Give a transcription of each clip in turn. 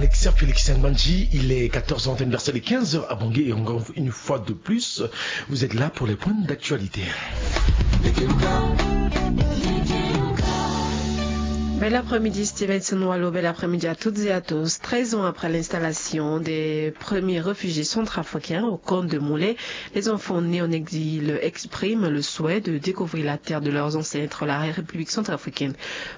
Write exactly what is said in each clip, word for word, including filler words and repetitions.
Alexia Félix Sangbanji, il est quatorze heures anniversaire de quinze heures à Bangui et encore une fois de plus, vous êtes là pour les points d'actualité. Bel après-midi, Stevenson Walo, bel après-midi à toutes et à tous. Treize ans après l'installation des premiers réfugiés centrafricains au camp de Moulay, les enfants nés en exil expriment le souhait de découvrir la terre de leurs ancêtres, la République centrafricaine.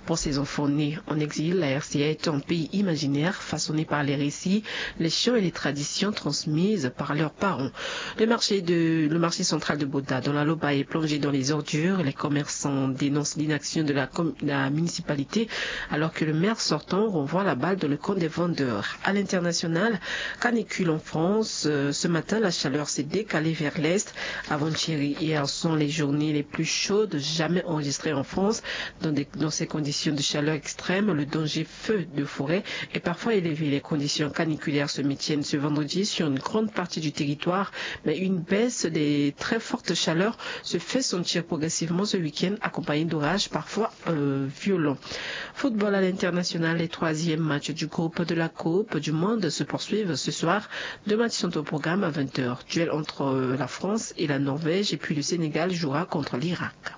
Pour ces enfants nés en exil, la R C A est un pays imaginaire façonné par les récits, les chants et les traditions transmises par leurs parents. Le marché, de, le marché central de Boda, dans la Loba, est plongé dans les ordures. Les commerçants dénoncent l'inaction de la, com- la municipalité, alors que le maire sortant renvoie la balle dans le camp des vendeurs. À l'international, canicule en France. Euh, ce matin, la chaleur s'est décalée vers l'est. Avant-hier et hier sont les journées les plus chaudes jamais enregistrées en France. Dans, des- dans ces conditions de chaleur extrême, le danger feu de forêt est parfois élevé. Les conditions caniculaires se maintiennent ce vendredi sur une grande partie du territoire, mais une baisse des très fortes chaleurs se fait sentir progressivement ce week-end, accompagnée d'orages parfois euh, violents. Football à l'international, les troisièmes matchs du groupe de la Coupe du Monde se poursuivent ce soir. Deux matchs sont au programme à vingt heures. Duel entre euh, la France et la Norvège, et puis le Sénégal jouera contre l'Irak.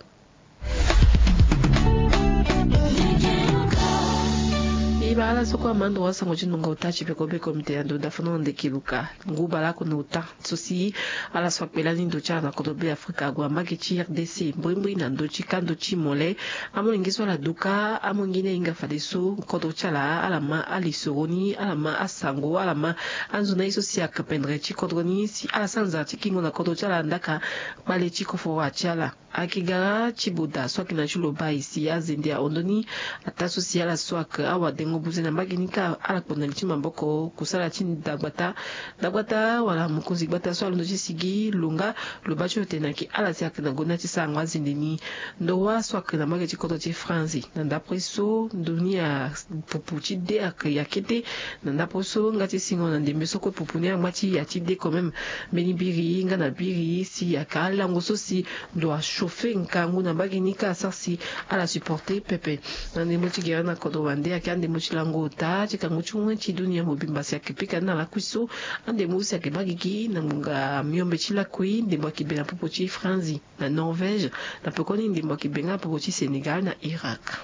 E baa ala so kue amando wasango ti ngonga ota ti peko be komite ya ndo dafono na ndeke luka ngu baa ala oko na ota. So si ala so akpe lani ndo ti ala na kodro be afrika ague na mbage ti rdc mbrimbri na ndö ti kando ti mole. Amolenge so ala duka amolenge ni ahinga fadeso kodro ti ala ala ma alisoro ni ala ma asango ala ma anzo na ye so si akpendre ti kodro ni si ala sara nzara ti kingo na kodro ti ala ndaka. Kpale ti kofo wa ti ala. Ayeke gara ti boda so ayeke na ti lo baa e si azende ahon ndoni. Ataa so si ala so ayeke awadengo buze na mbage ni kâ ala kpo na li ti maboko kusala ti dagbata. Dagbata wala mokonzi gbata so alondo ti sigi lo nga lo baa ti lo tene ayeke ala si ayeke na gonda ti sarango azende ni. Ndo wâ so ayeke na mbage ti kodro ti franzi na ndapre so ndo ni apupu ti de ayeke ya kete. Na ndapre so nga ti singo na ndembe so kue pupu ni angba ti ya ti de quand même. Mbeni biri nga na biri si ayeke alango so si ndo achauffe nkangu na mbage ni kâ asara si ala supporte pepe. Na ndembo ti gere na kodro wande ayeke andembo ti lango ota ti kangu ti wen ti dunia mobimba si ayeke pika ni na lakui so. Andembo so si ayeke baa gigi na ngbonga miombe ti lakui ndembo ayeke be na popo ti franzi na norvège. Na pekoni ndembo ayeke be nga na popo ti sénégal na irak.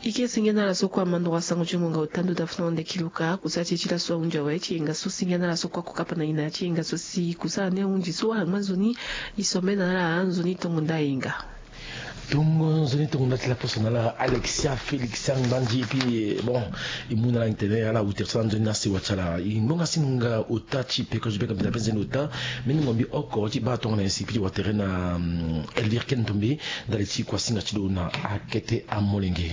Ike senge na ala so kue amandoro asango ti ngonga ota ndo dafu na wande kiluka kusala ti e ti laso ahunzi awe ti yenga so senge na ala so kue akokapa na ina ti yenga so si kusala ni ahunzi so ala ngba nzoni. E sombe na ala nzoni tongo nda yenga. Tongo nzoni tongo nda ti laposo na ala alexia félix angbandi epi bon. E mu na ala tene ala wutere so ala nzoni na sewa ti ala e ngbonga si ngonga ota ti peko ti beka mbila mpe nzoni ota. Mbeni ngombi oko ti baa tongana nyen si piti watere na elvire ken tombe. Ndali ti kuasinga ti lo na akete amolenge.